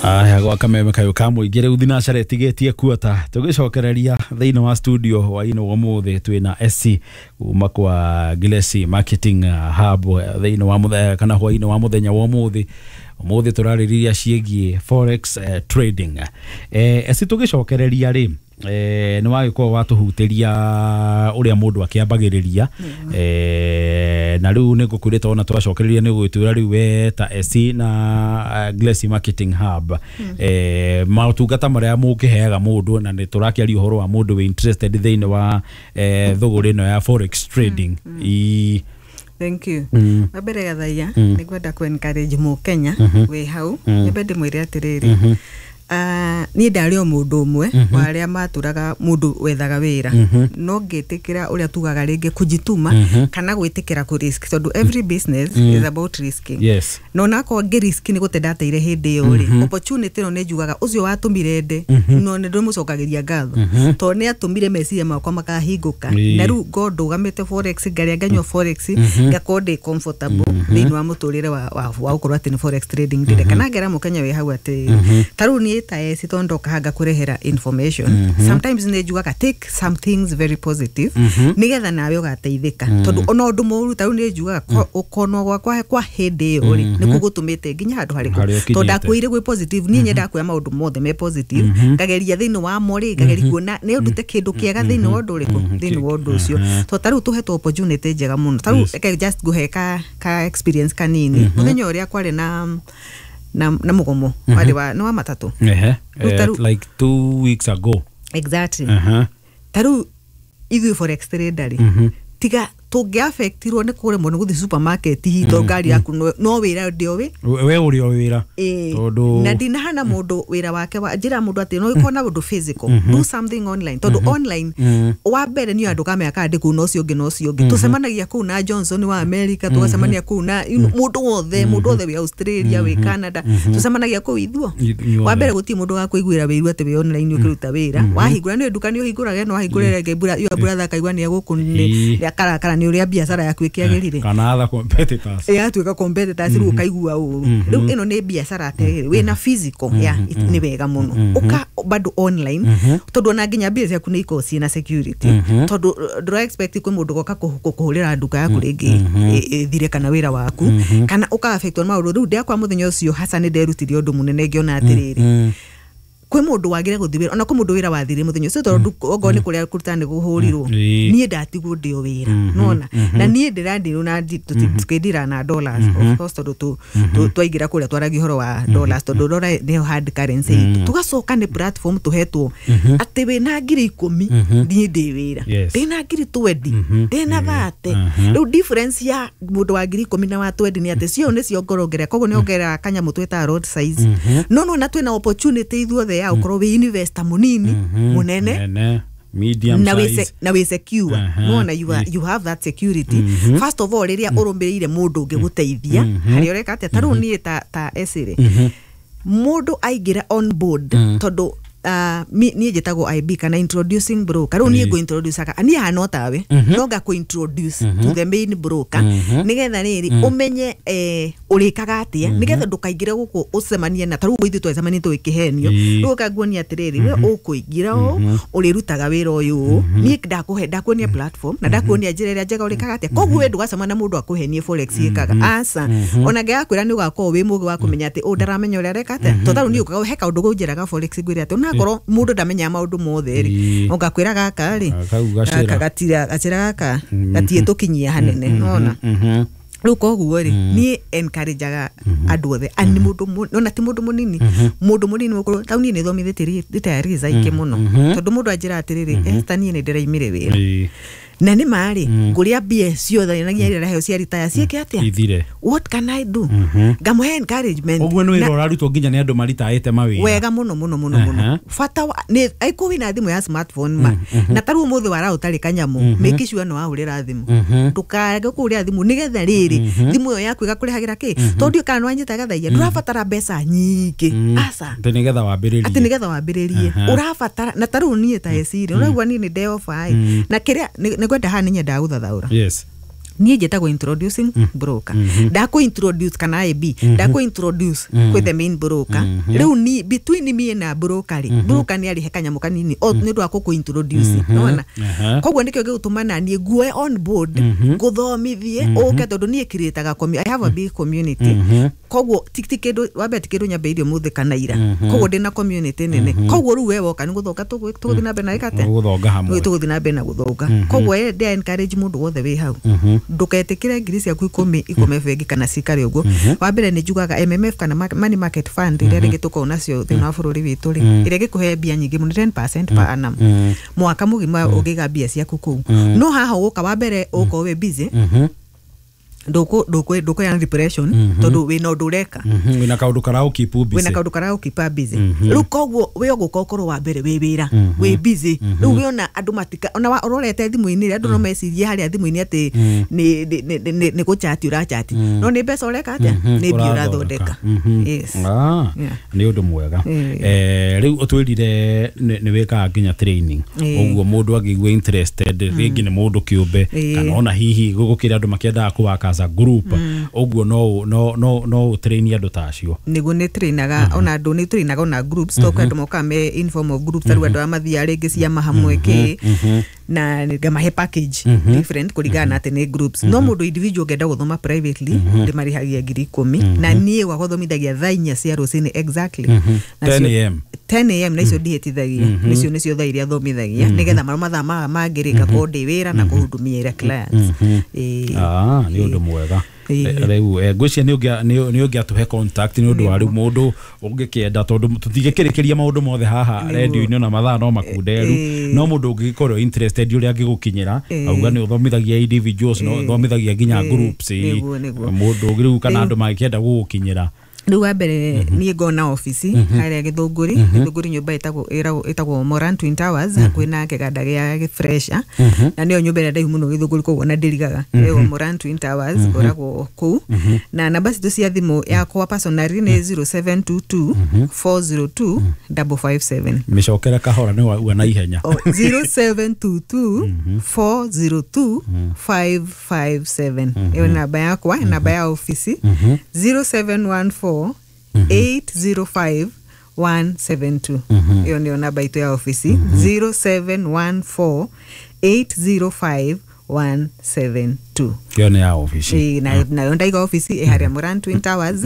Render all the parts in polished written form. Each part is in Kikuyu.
Aya, gwa kameme kayo ka mũingĩ rĩu thinacara ĩtigĩtie kuota tũgĩcokereria thĩinĩ wa studio hwainĩ wa ũmũthĩ twĩna SC kuma kwa Gilesi Marketing Hub thĩinĩ wa kana hwainĩ wa mũthenya wa ũmũthĩ. Ũmũthĩ tũrarĩrĩria ciĩgiĩ forex trading. SC, tũgĩcokereria rĩ, nĩ wagĩkorwo watũhutĩria ũrĩa mũndũ akĩambagĩrĩria, na rĩu nĩ ngũkwĩrĩte ona twacokereria nĩ gũgĩtwĩra rĩu we ta SC na Glessy Marketing Hub, maũtungata marĩa mũkĩheaga mũndũ, na nĩ tũrakĩaria ũhoro wa mũndũ wĩ interested thĩinĩ wa thũgũrĩ ĩno ya forex trading. Thank you. Wa mbere, Gathaia, nĩ ngwenda kũ encourage mũkenya wĩ hau, nyambe ndĩmwĩre atĩrĩrĩ, niĩ ndarĩ o mũndũ ũmwe wa arĩa matũraga mũndũ wethaga wĩra, no ngĩtĩkĩra ũrĩa tugaga rĩngĩ kujituma kana gwĩtĩkĩra kũ risk, tondũ every business is about risking. No nakorwo ngĩ risk nĩ gũte ndateire hĩndĩ ĩyo rĩ, opportunity ĩno nĩ njugaga ũcio watũmire nde, no nĩ ndĩmũcokagĩria ngatho tondũ nĩ atũmire meciria makwa makahingũka. Na rĩu ngorwo ndũgamĩte forex, ngarĩa, nganyua forex, ngakorwo ndĩ comfortable thĩinĩ wa mũtũrĩre wa gũkorwo atĩ nĩ forex trading ndĩreka. Na ngera mũkenya wĩ hau atĩ ta rĩu niĩ ta eci, tondũ ndoka haha ngakũrehera information, sometimes nĩ njugaga take some things very positive nĩgetha nawe ũgateithĩka, tondũ ona ũndũ mũru, ta rĩu nĩ njugaga ũkonwo gwakwa kwa hĩndĩ ĩyo rĩ, nĩkuo gũtũmĩte nginya handũ harĩkũ. Harĩa tondũ ũkinyĩte. Ndakwĩire gwĩ positive, niĩ nyendaga kuoya maũndũ mothe me positive, ngageria thĩinĩ wamo rĩ, ngageria kuona nĩ ndute kĩndũ kĩega thĩinĩ wa ũndũ ũrĩkũ, thĩinĩ wa ũndũ ũcio, tondũ ta rĩu tũhetwo opportunity njega mũno. Ta rĩu reke just ngũhe ka experience kanini. Mũthenya ũrĩa kwarĩ na mũgomo warĩ wa nĩ wa matatũ. Rĩu Like 2 weeks ago. Exactly. Ta rĩu ithuĩ forex trader rĩ, tiga tũngĩafektirwo nĩ kũremwo nĩ gũthiĩ supermarket hihi tondũ ngari yaku no wĩra ndĩoĩ. We ũrĩ o wĩra. Ĩĩ. Tondũ Na ndinahana mũndũ wĩra wake wa njĩra mũndũ atĩ no ĩkorwo na ũndũ physical, do something online, tondũ online wa mbere nĩ andũ kamenya kana ndĩ kũu na ũcio ũngĩ na ũcio ũngĩ, tũcemanagia kũu na Johnson wa America, tũgacemania kũu na mũndũ wothe wĩ Australia, wĩ Canada, tũcemanagia kũu ithuo. Inyuothe. Wa mbere gũtirĩ mũndũ wakũiguĩra wĩiru atĩ wĩ online ũkĩruta wĩra, wahingũra nĩ nduka nĩ ũhingũraga, no wahingũrĩra rĩngĩ your brother akaigua nĩ egũkũ nĩ akarakara nĩ ũrĩa biacara yaku ĩkĩagĩrire. Kana other competitors. Yatuĩka competitors, rĩu ũkaigua ũru. Rĩu ĩno nĩ biacara atĩrĩrĩ wĩna physical ya nĩ wega mũno ũka bado online, tondũ ona nginya mbia ciaku nĩ ikoragwo ciĩna security, tondũ ndũra expect kwĩ mũndũ goka kũhũrĩra nduka yaku rĩngĩ ĩthire kana wĩra waku kana ũka affectwo nĩ maũndũ. Rĩu ndĩakwa mũthenya ũcio hasa nĩ nderutire ũndũ mũnene, ngĩona atĩrĩrĩ, kwĩ mũndũ wagire gũthiĩ wĩra, ona kwĩ mũndũ wĩra wathire mũthenya ũcio, tondũ okorwo nĩ kũrĩa kũruta nĩ kũhũrirwo. Niĩ ndatigwo ndĩ o wĩra nona, na niĩ ndĩrandirwo na tũkĩndira na dollars, of course, tondũ twaingĩra kũrĩa twaragia ũhoro wa dollars, tondũ dollar nĩyo hard currency itũ. Tũgacoka nĩ platform tũhetwo atĩ wĩna 10,000, niĩ ndĩ wĩra, ndĩna 20,000, ndĩna 30. Rĩu difference ya mũndũ wa 10,000 na wa 20 nĩ atĩ cio nĩ ciongorongerera, koguo nĩ ongerera kanyamũ twĩtaga lot size. No nona twĩna opportunity ithuothe ya ũkorwo wĩ investor mũnini, mũnene, Nene, medium na wĩ size. Na wĩ secure. Nona you, are, you have that security. First of all, rĩrĩa ũrũmĩrĩire mũndũ ũngĩ gũteithia harĩa ũreka atĩa, ta rĩu niĩ ta esĩrĩ mũndũ aingĩra on board, tondũ niĩ njĩtagwo IB kana introducing broker. Rĩu niĩ ngũ-introduce-aga, niĩ hana o tawe, no ngakũ-introduce to the main broker, nĩgetha rĩrĩ ũmenye ũrĩkaga atĩa, nĩgetha ndũkaingĩre gũkũ ũcemanie na ta rĩu ithuĩ twacemanie tũgĩkĩhenio. Rĩu ũkanguonia atĩrĩrĩ, we ũkũingĩra ũũ, ũrĩrutaga wĩra ũyũ ũũ, niĩ ndakũhe, ndakuonia platform na ndakuonia njĩra ĩrĩa njega ũrĩkaga atĩa. Koguo we ndũgacemania na mũndũ akũhenie forex ĩkaga aca. Ona ngĩgakwĩra nĩ ũgakorwo wĩ mũgĩ wa kũmenya atĩ ũũ ndaramenya ũrĩa areka atĩa, tondũ tarĩu niĩ ũkaga he kaũndũ gũnjĩraga forex, ngwĩre atĩ onakorwo mũndũ ndamenyaga maũndũ mothe rĩ, ũgakwĩra gaka rĩ, Kau gacĩra. Gaka gatira gacĩra gaka gatiĩtũkinyia hanene nona. Rĩu koguo rĩ, niĩ encourageaga andũ othe ani mũndũ ona ti mũndũ mũnini, mũndũ mũnini mũkũrũ. Tau niĩ nĩ thomithĩtie retirees aingĩ mũno, tondũ mũndũ anjĩra atĩrĩrĩ, "Esther, niĩ nĩ ndĩraimire wĩra na nĩ marĩ ngũrĩa mbia ciothe na nginya iria ndaheo cia retire ciĩke atĩa?" Ithire. What can I do? Ngamũhe encouragement. Ũguo nĩ wĩra ũrarutwo nginya nĩ andũ maritaĩte mawĩra. Wega mũno mũno mũno mũno. Bata wa nĩ aiko wĩna thimũ ya smartphone ma, na tarĩu ũmũthĩ wara ũtarĩ kanyamũ, make sure nĩ wahũrĩra thimũ, ndũkage kũhũrĩra thimũ, nĩgetha rĩrĩ thimũ ĩyo yaku ĩgakũrehagĩra kĩ, tondũ ndiũĩ kana nĩwanyita gathaia, ndũrabatara mbeca nyingĩ, aca. Atĩ nĩgetha wambĩrĩrie. Atĩ nĩgetha wambĩrĩrie ũrabatara, na tarĩu niĩ ta eciri ũraigua niĩ nĩ ndeoba ĩ, na kĩrĩa nĩ ngwenda haha nĩ nyendaga gũthathaũra. Niĩ njĩtagwo introducing broker. Ndakũ introduce kana IB, ndakũ introduce kwĩ the main broker. Rĩu ni between me na broker rĩ, broker nĩ arĩhe kanyamũ kanini o nĩ ũndũ wa gũkũ introduce, nĩwona? Koguo nĩkĩo gĩgũtũma na niĩ nguoe on board, ngũthomithie ũke, tondũ niĩ createaga I have a big community. Koguo ti kĩndũ wa mbere, ti kĩndũ nyambĩrĩirie ũmũthĩ kana ira. Koguo ndĩna community nene. Koguo rĩu we woka nĩ gũthonga, tũgũthiĩ na mbere na ĩka atĩa? Gũthonga hamwe. Tũgũthiĩ na mbere na gũthonga. Koguo ndĩ encourage mũndũ wothe wĩ hau, ndũketĩkĩre 10,000 ciaku ikome bengi kana cikare ũguo. Wa mbere nĩ njugaga MMF kana money market fund iria rĩngĩ tũkoragwo nacio thĩinĩ wa bũrũri witũ rĩ, ĩrĩa ĩgĩkũhe mbia nyingĩ mũno, 10% per annum, mwaka mũgima ũngĩiga mbia ciaku kũu. No haha ũgũka wa mbere ũgũkorwo wĩ busy, ndũkũgĩa na depression tondũ wĩna ũndũ ũreka. Wĩna kaũndũ karagũ busy. Wĩna kaũndũ karagũkipa busy. Rĩu koguo wĩ ũgũka ũkorwo wa mbere wĩ wĩra, wĩ busy. Rĩu wĩona andũ matika ona ũrorete thimũ-inĩ rĩ, andũ no mecirie harĩa thimũ-inĩ atĩ nĩ gũchati ũrachati, no nĩ mbeca ũreka atĩa? Nĩ mbia ũrathondeka. Yes. Nĩ ũndũ mwega. Rĩu ũtwĩrire nĩ wĩkaga nginya training. Ũguo mũndũ angĩigua interested, rĩngĩ nĩ mũndũ kĩũmbe kana ona hihi gũkĩrĩ andũ makĩendaga kũwaka as a group, ũguo no ũtrain andũ ta acio? Nĩguo, nĩ trainaga ona andũ, nĩ trainaga ona groups, to kwĩ andũ mokaga me in form of groups. Tarĩu andũ arĩa mathiaga rĩngĩ ciama hamwe kĩ, na ngamahe package different kũringana na atĩ nĩ groups. No mũndũ individual ũngĩenda gũthoma privately, ndĩmarĩhagia 10,000, na niĩ gwakwa thomithagia thaa 4 cia rũcinĩ exactly. Na 10 a.m. 10 a.m., na icio ndihĩtithagia, nĩcio thaa iria thomithagia, nĩgetha marĩa mathaa maya mangĩ rĩ, ngakorwo ndĩ wĩra na kũhudumia clients. Ĩĩ. Ah, nĩ ũndũ mwega. Rĩu ngwĩciria nĩ ũngĩatũhe contact nĩ ũndũ wa rĩu mũndũ ũngĩkĩenda, tondũ tũtingĩkĩrĩkĩria maũndũ mothe haha redio-inĩ, ona mathaa no makunderu. No mũndũ ũngĩgĩkorwo interested, ũrĩa angĩgũkinyĩra? Auga nĩ ũthomithagia individuals, no ũthomithagia nginya groups. Nĩguo. Mũndũ ũngĩ rĩu kana andũ mangĩkĩenda gũgũkinyĩra? Rĩu wa mbere niĩ ngona obici harĩa Gĩthũngũri, Gĩthũngũri nyũmba ĩtagwo Moran Twin Towers, hakuhĩ na kĩganda gĩa Fresha, na nĩyo nyũmba ĩrĩa ndaihu mũno Gĩthũngũri, koguo na ndĩrigaga ĩyo Moran Twin Towers. Ngoragwo kũu, na namba citũ cia thimũ, yakwa personally nĩ 0722 402 557. Mĩcokere kahora, nĩ waua na ihenya. Oh, 0722 402 557, ĩyo nĩ namba yakwa. Namba ya obici 0714 805 172, ĩyo nĩyo namba itũ ya obici, 0714 805 172. Ĩyo nĩ ya obici. Ĩĩ, nayo ndaiga obici ĩ harĩa Moran Twin Towers,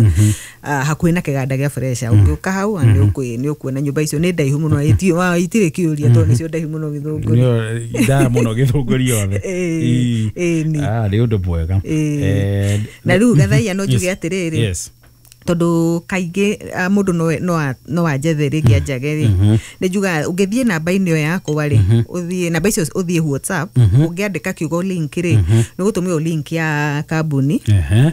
hakuhĩ na kĩganda gĩa Fresha. Ũngĩũka hau nĩ ũkuona nyũmba icio nĩ ndaihu mũno, itirĩ kĩũria tondũ nĩcio ndaihu mũno Gĩthũngũri. Nĩyo ndaya mũno Gĩthũngũri yothe. Ĩĩ, ĩĩ, nĩ. Ah, nĩ ũndũ mwega. Na rĩu gathaia no njuge atĩrĩrĩ, tondũ kaingĩ mũndũ no anjethe rĩngĩ anjage rĩ, nĩ njugaga ũngĩthiĩ namba-inĩ ĩyo yakwa rĩ, ũthiĩ namba icio, ũthiĩ WhatsApp, ũngĩandĩka kiugo link rĩ, nĩ gũtũmĩrwo link ya kambuni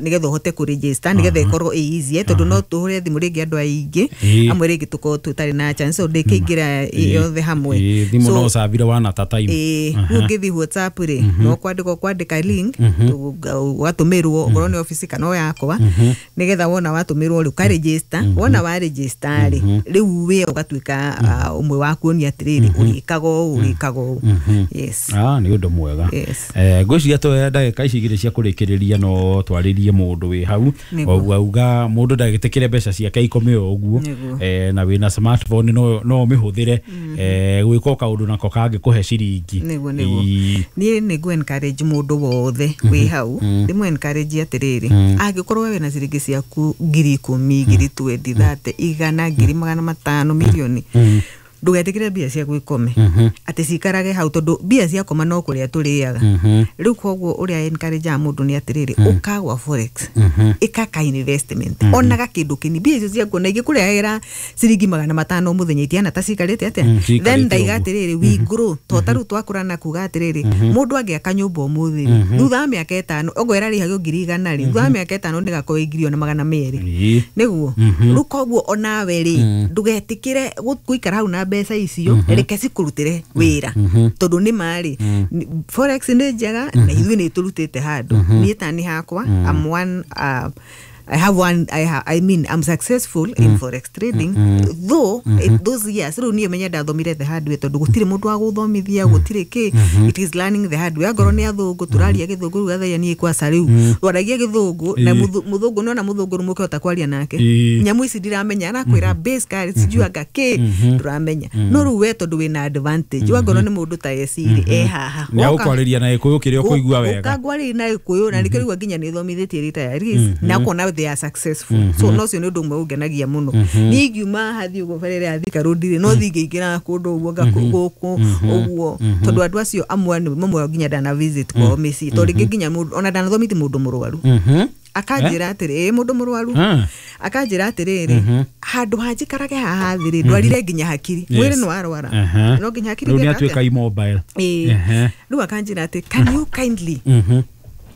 nĩgetha ũhote kũregister, nĩgetha ĩkorwo ĩ easy, tondũ no tũhũre thimũ rĩngĩ andũ aingĩ amwe rĩngĩ tũkorwo tũtarĩ na chance, so ndĩkĩingĩra yothe hamwe. Thimũ no ũcabire wana ta time. Ĩĩ, rĩu ũngĩthiĩ WhatsApp rĩ, no kwandĩka ũkwandĩka link, ũgatũmĩrwo okorwo nĩ obici kana o yakwa, nĩgetha wona watũmĩrwo rĩ, ũkaregister. Wona wa register rĩ, rĩu we ũgatuĩka ũmwe wa kuonia atĩrĩrĩ, ũrĩkaga ũũ, ũrĩkaga ũũ. Yes. Ah, nĩ ũndũ mwega. Yes. Ngwĩciria twoya ndagĩka ici igĩrĩ cia kũrĩkĩrĩria no twarĩrie mũndũ wĩ hau. Auga mũndũ ndagĩtĩkĩre mbeca ciake ikome o ũguo. Na wĩna smartphone no ũmĩhũthĩre gwĩka o kaũndũ nako kangĩkũhe ciringi. Nĩguo. Niĩ nĩ ngũ encourage mũndũ wothe wĩ hau, ndĩmũ encourage atĩrĩrĩ, angĩkorwo we wĩna ciringi ciaku 10,000, 20,000, 30, 100, 500,000, milioni, ndũgetĩkĩre mbia ciaku ikome, atĩ cikarage hau, tondũ mbia ciakoma no kũrĩa tũrĩaga. Rĩu koguo ũrĩa encourage mũndũ nĩ atĩrĩrĩ, ũkagwa forex, ĩka ka investment onaga kĩndũ kĩni, mbia icio ciaku ona ingĩkũrehera ciringi 500 mũthenya, itiana ta cikarĩte atĩa. Ciikarĩte Then ndaiga ũguo. atĩrĩrĩ, we grow to ta rĩu twakũra na kuga atĩrĩrĩ, mũndũ angĩaka nyũmba ũmũthĩ rĩ, thutha wa mĩaka 5 okorwo ĩrarĩhagio 100,000 rĩ, thutha wa mĩaka 5 ndĩgakorwo ĩ 200,000. Nĩguo. Rĩu koguo onawe rĩ, ndũgetĩkĩre gũikara hau na mbeca icio, reke cikũrutĩre wĩra, tondũ nĩ ma rĩ, forex nĩ njega na ithuĩ nĩ tũrutĩte handũ. Niĩ ta nĩ hakwa, I'm one I have one I mean I'm successful in forex trading though those years rĩu niĩ menya ndathomire the hard way tondũ gũtirĩ mũndũ wa gũthomithia gũtirĩ kĩ, it is learning the hard way. Angorwo nĩ athũngũ tũraria gĩthũngũ rĩu gathaia niĩ kwaca rĩu twaragia gĩthũngũ na mũthũngũ nona mũthũngũ rĩu kwaria nake nyamũ ici ndiramenya arakwĩra base card sijui anga kĩ ndũramenya no rĩu we tondũ wĩna advantage wangorwo nĩ mũndũ ta ecirĩ e haha nĩ agũkwarĩria na gĩkũyũ kĩrĩa ũkũigua wega ũkangwarĩria na gĩkũyũ na nĩkĩo rĩu nginya nĩ thomithĩtie retirees na ũkona they are successful. So no cio nĩ ũndũ ũmwe ũngenagia mũno. Niĩ ingiuma haha thiĩ ũguo barĩra ya Thika Road rĩ no thiĩ ngĩingĩra kũndũ ũguo gũkũ ũguo tondũ andũ acio amwe nĩ mamwe nginya ndana visit kwao mĩciĩ tondũ rĩngĩ nginya mũndũ ona ndanathomithia mũndũ mũrwaru akanjĩra atĩrĩ mũndũ mũrwaru akanjĩra atĩrĩrĩ handũ ha njikarage haha thĩ rĩ ndwarire nginya hakiri mwĩrĩ nĩ warwara no nginya hakiri rĩu nĩ atuĩka immobile rĩu akanjĩra atĩ can you kindly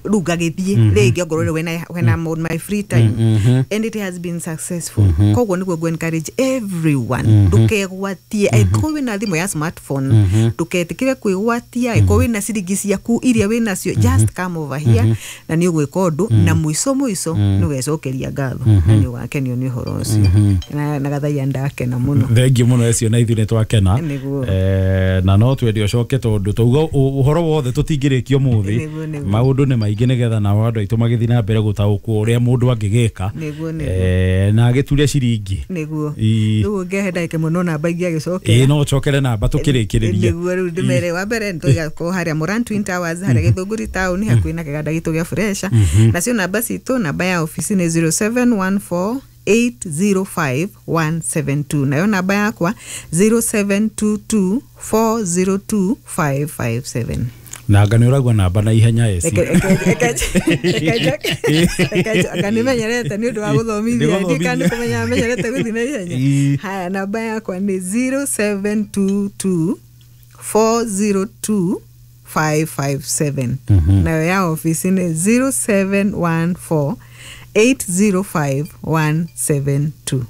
rĩu ngagĩthiĩ rĩngĩ ongorwo rĩ when I'm on my free time and it has been successful. Koguo nĩguo ngũ encourage everyone ndũkegwatie angĩkorwo wĩna thimũ ya smartphone ndũketĩkĩre kwĩgwatia angĩkorwo wĩna ciringi ciaku iria wĩnacio just come over here na nĩ ũgwĩka ũndũ na mũico mũico nĩ ũgecokeria ngatho na nĩ ũgakenio nĩ ũhoro ũcio na gathaia ndakena mũno. Thengiũ mũno ecio na ithuĩ nĩ twakena na no twende ũcoke tondũ tauga ũhoro wothe tũtingĩrĩkia ũmũthĩ maũndũ nĩ maingĩ nĩgetha nao andũ aitũ magĩthiĩ na mbere gũtaũkwo ũrĩa mũndũ angĩgĩka na agĩture ciringi nĩguo rĩu ngehe ndagĩka ĩmwe no namba ingĩ agĩcokera no ũcokere namba tũkĩrĩkĩrĩria nĩguo rĩu ndĩmere wa mbere nĩtũigakorwo harĩa Moran Twin Towers harĩa Gĩthũngũri town hakuhĩ na kĩganda gitũ gĩa Fresha nacio namba citũ namba ya ofici nĩ 0714 805 172 nayo namba yakwa 0722 402 557 na anga nĩ ũragua namba na ihenya eci anga nĩmenyerete nĩ ũndũ wa gũthomithia ndikana kũmenya menyerete gũthiĩ na ihenya. Haya namba yakwa nĩ 0722 402 557 nayo ya ofici nĩ 0714 805 172.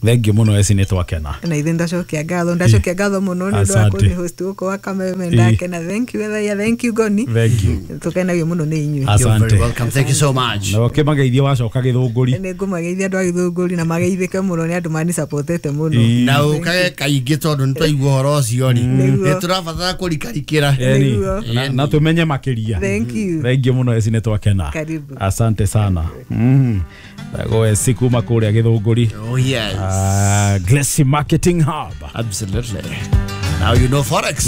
Thengiũ mũno eci nĩ twakena na ithuĩ ndacokia ngatho mũno nĩ ũndũ wa kũni host gũkũ wa Kameme ndakena. Thank you Ethaia, thank you Goni, thank you, tũkenagio mũno nĩ inyuĩ. Asante, welcome, thank you so much. Na ũkĩmageithia wacoka Gĩthũngũri nĩ ngũmageithia andũ a Gĩthũngũri na mageithĩke mũno nĩ andũ mani supportete mũno na ũkage kaingĩ tondũ nĩ twaigua ũhoro ũcio rĩ nĩ tũrabatara kũrikarikĩra na tũmenye makĩria. Thank you, thengiũ mũno eci nĩ twakena, asante sana. Go eci kuma kũrĩa Gĩthũngũri. Oh yes. Glessy Marketing Hub. Absolutely. Now you know forex.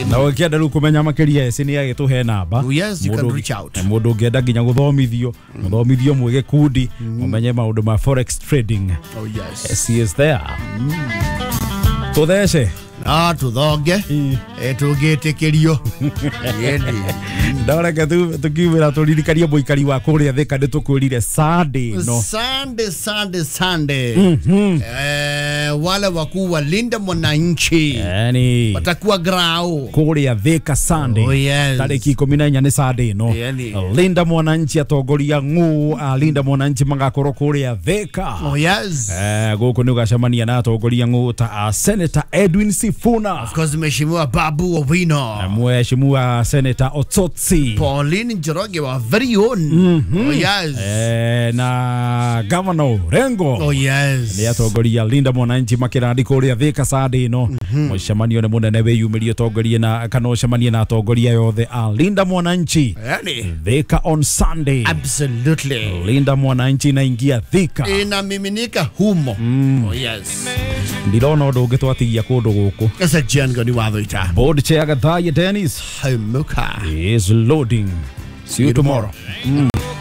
Na ũkĩenda rĩu kũmenya makĩria eci nĩ agĩtũhe namba. Oh yes, you can reach out. Mũndũ ũngĩenda nginya gũthomithio, mũthomithio mwĩ gĩkundi, mũmenye maũndũ ma forex trading. Oh yes. Eci is there. Tũthece. Tũthonge tũngĩtĩkĩrio ndareke tukiumĩra tũririkanie mũikari wa kũrĩa Thika nĩ tũkwĩrire Sunday no Sunday wale wakuu wa Linda Mwananchi yani watakuwa grao kũrĩa Thika Sunday. Oh yes, tarĩki 14 nĩ Sunday no Linda Mwananchi atongoria ng'ũ a Linda Mwananchi magakorwo kũrĩa Thika. Oh yes, gũkũ nĩ ũgacemania na atongoria ng'ũ ta Senator Edwin Sifuna, of course Mheshimiwa Babu Owino, Mheshimiwa Senator Otsotsi, Pauline Njoroge wa very own. Oh yes, na Governor Orengo. Oh yes, nĩ atongoria Linda Mwananchi makĩrandi kũrĩa Thika Sunday no mũcemanio nĩ mũnene wĩyumĩrie ũtongorie na kana ũcemanie na atongoria yothe a Linda Mwananchi Thika on Sunday. Absolutely, Linda Mwananchi inaingia Thika inamiminika humo. Oh yes, ndirona ũndũ ũngĩ twatigia kũndũ gũkũ. Esa Jengo ni wathoita Board chair Gathaya Dennis Hamuka is loading. See you tomorrow.